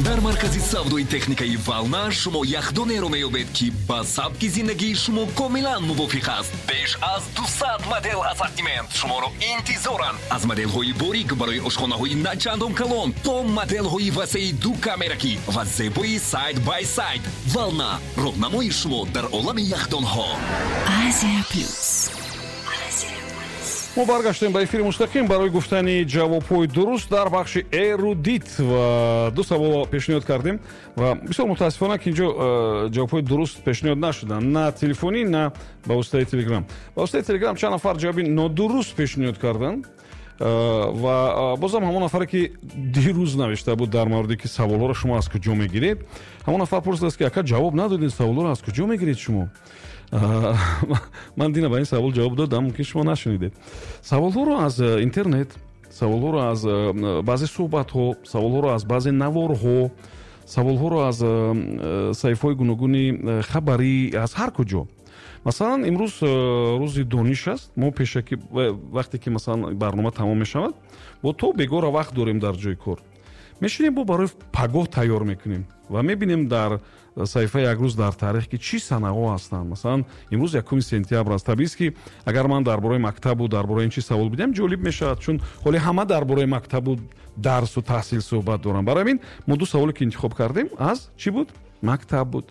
Дар маркази савдои техникаи «Волна» шумо яхдонеро меёбед, ки ба сабки зиндагии шумо комилан мувофиқ аст. Беш аз 200 модел ассортимент шуморо интизоранд, аз моделҳои борик барои ошхонаҳои на чандон калон то моделҳои васеи ду камеракӣ ва зебои side by side. «Волна» — роҳнамои шумо дар олами яхдонҳо. Азия Плюс. Мо баргаштем ба эфири мустақим барои гуфтани ҷавобҳои дуруст дар бахши «Эрудит» ва ду савол пешниҳод кардем ва бисёр мутаассифона, ки инҷо ҷавобҳои дуруст пешниҳод нашуданд, на телефонӣ, на ба воситаи Телеграм. Ба воситаи Телеграм чанд нафар ҷавоби нодуруст пешниҳод карданд ва бозам ҳамон нафаре, ки дирӯз навишта буд дар мавриде, ки саволҳоро шумо аз куҷо мегиред, ҳамон нафар пурсидааст, ки ака, ҷавоб надодед, саволҳоро аз куҷо мегиред шумо? Ман дина ба ин савол ҷавоб додам, мумкин шумо нашунидед. Саволҳоро аз интернет, саволҳоро аз баъзе суҳбатҳо, саволҳоро аз баъзе наворҳо, саволҳоро аз саҳифаҳои гуногуни хабарӣ, аз ҳар куҷо. Масалан, имрӯз рӯзи дониш аст. Мо пешакӣ, вақте ки, масалан, барнома тамом мешавад, бо то бегора вақт дорем, дар ҷои кор мешинем, бо барои пагоҳ тайёр мекунем ва мебинем дар саҳифаи «Як рӯз дар таърих», ки чӣ санаҳо ҳастанд. Масалан, имрӯз 1 сентябр аст. Табиист, ки агар ман дар бораи мактабу дар бораи ин чиз савол бидиҳам, ҷолиб мешавад, чун ҳоле ҳама дар бораи мактабу дарсу таҳсил суҳбат доранд. Барои ҳамин мо ду саволе, ки интихоб кардем, аз чӣ буд? Мактаб буд.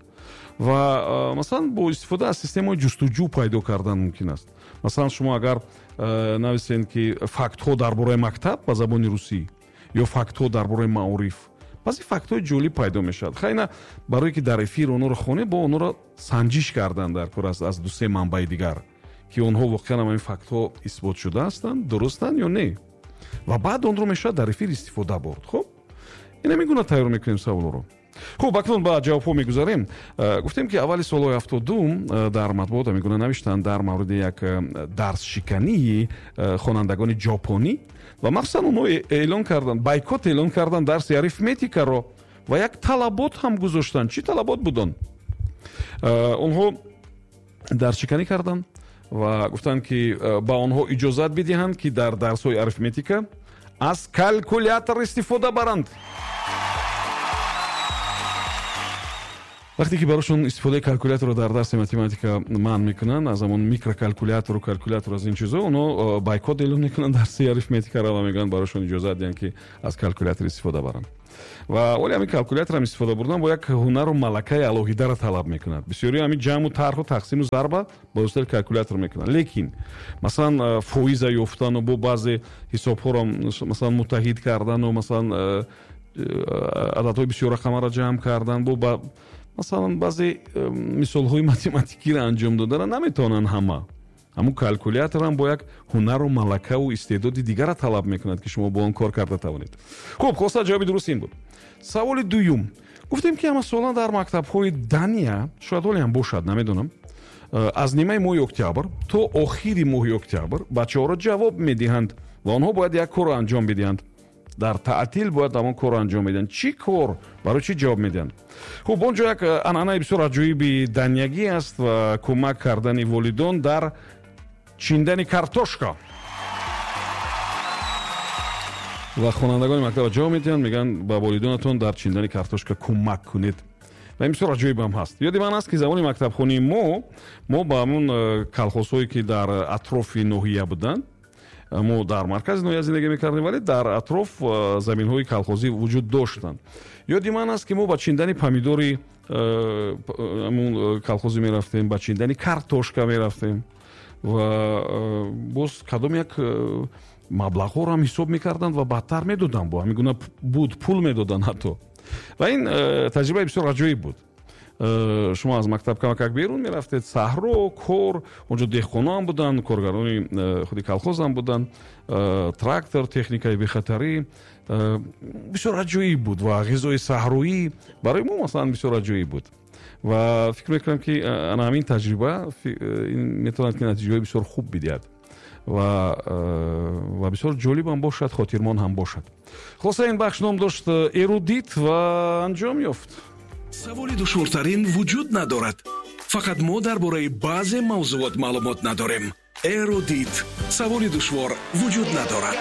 Ва масалан, бо истифода аз системаи ҷустуҷӯ пайдо кардан мумкин аст. Масалан, шумо агар нависед, ки фактҳо дар бораи мактаб ба забони русӣ ё фактҳо дар бораи маориф, баъзе фактҳои ҷолиб пайдо мешавад. Хайна, барое ки дар эфир онҳоро хонед, бо онҳоро санҷиш кардан дар кор аст аз дусе манбаи дигар, ки онҳо воқеан ҳамин фактҳо исботшуда ҳастанд, дурустанд ё не, ва баъд онро мешавад дар эфир истифода бурд. Хуб, ин ҳамин гуна тайёр мекунем саволҳоро. Хуб, акнун ба ҷавобҳо мегузарем. Гуфтем, ки аввали солҳои 70-ум дар матбуот ҳамин гуна навиштанд дар мавриди як дарсшикании хонандагони ҷопонӣ ва махсусан онҳо эълон карданд, бойкот эълон карданд дарси арифметикаро ва як талабот ҳам гузоштанд. Чӣ талабот буд он? Онҳо дарсшиканӣ карданд ва гуфтанд, ки ба онҳо иҷозат бидиҳанд, ки дар дарсҳои арифметика аз калькулятор истифода баранд. Вақте ки барошон истифодаи калькуляторро дар дарси математика манъ мекунанд, аз ҳамон микрокалькулятору калькулятор, аз ин чизо, онҳо бойкот эълон мекунанд дарси арифметикаро ва мегӯянд, барошон иҷозат диҳанд, ки аз калькулятор истифода баранд. Ва оли ҳамин калькуляторам истифода бурдан бо як ҳунару малакаи алоҳидаро талаб мекунад. Бисёри ҳамин ҷамъу тарҳу тақсиму зарба ба воситаи калькулятор мекунанд, лекин масалан, фоиза ёфтану бо баъзе ҳисобҳоро, масалан, муттаҳид кардану, масалан, ададҳои бисёррақамаро ҷамъ кардан, бо масалан, баъзе мисолҳои математикиро анҷом додана наметавонанд ҳама. Ҳамун калькуляторам бо як ҳунару малакаву истеъдоди дигарро талаб мекунад, ки шумо бо он кор карда тавонед. Хуб, хулоса, ҷавоби дуруст ин буд. Саволи дуюм: гуфтем, ки ҳамасола дар мактабҳои Дания, шояд ҳоле ҳам бошад, намедонам, аз нимаи моҳи октябр то охири моҳи октябр бачаҳоро ҷавоб медиҳанд ва онҳо бояд як корро анҷом бидиҳанд. Дар таътил бояд ҳамон корро анҷом медиҳанд. Чӣ кор? Барои чӣ ҷавоб медиҳанд? Хуб, он ҷо як анъанаи бисёр аҷоиби даниягӣ аст ва кӯмак кардани волидон дар чиндани картошка. Ва хонандагони мактаба ҷавоб медиҳанд, мегӯянд, ба волидонатон дар чиндани картошка кӯмак кунед. Ва ин бисёр аҷоибам ҳаст. Ёди ман аст, ки замони мактабхонии мо ба ҳамон колхозҳое, ки дар атрофи ноҳия буданд, мо дар маркази ноҳия зиндагӣ мекардем, вале дар атроф заминҳои колхозӣ вуҷуд доштанд. Ёди ман аст, ки мо ба чиндани помидори ҳамун колхозӣ мерафтем, ба чиндани картошка мерафтем ва боз кадом як маблағҳоро ҳам ҳисоб мекарданд ва баъдтар медоданд. Бо ҳамин гуна буд, пул медоданд ҳатто. Ва ин таҷрибаи бисёр аҷоиб буд. Шумо аз мактаб камакак берун мерафтед, саҳро, кор, онҷо деҳқоноам буданд, коргарони худи колхозам буданд, трактор, техникаи бехатарӣ. Бисёр аҷоиб буд ва ғизои саҳроӣ барои мо, масалан, бисёр аҷоиб буд. Ва фикр мекунам, ки ана ҳамин таҷриба метавонад, ки натиҷаҳои бисёр хуб бидиҳад ва бисёр ҷолибам бошад, хотирмон ҳам бошад. Хулоса, ин бахш ном дошт «Эрудит» ва анҷом ёфт. Саволи душвортарин вуҷуд надорад, фақат мо дар бораи баъзе мавзӯот маълумот надорем. «Эрудит»: саволи душвор вуҷуд надорад.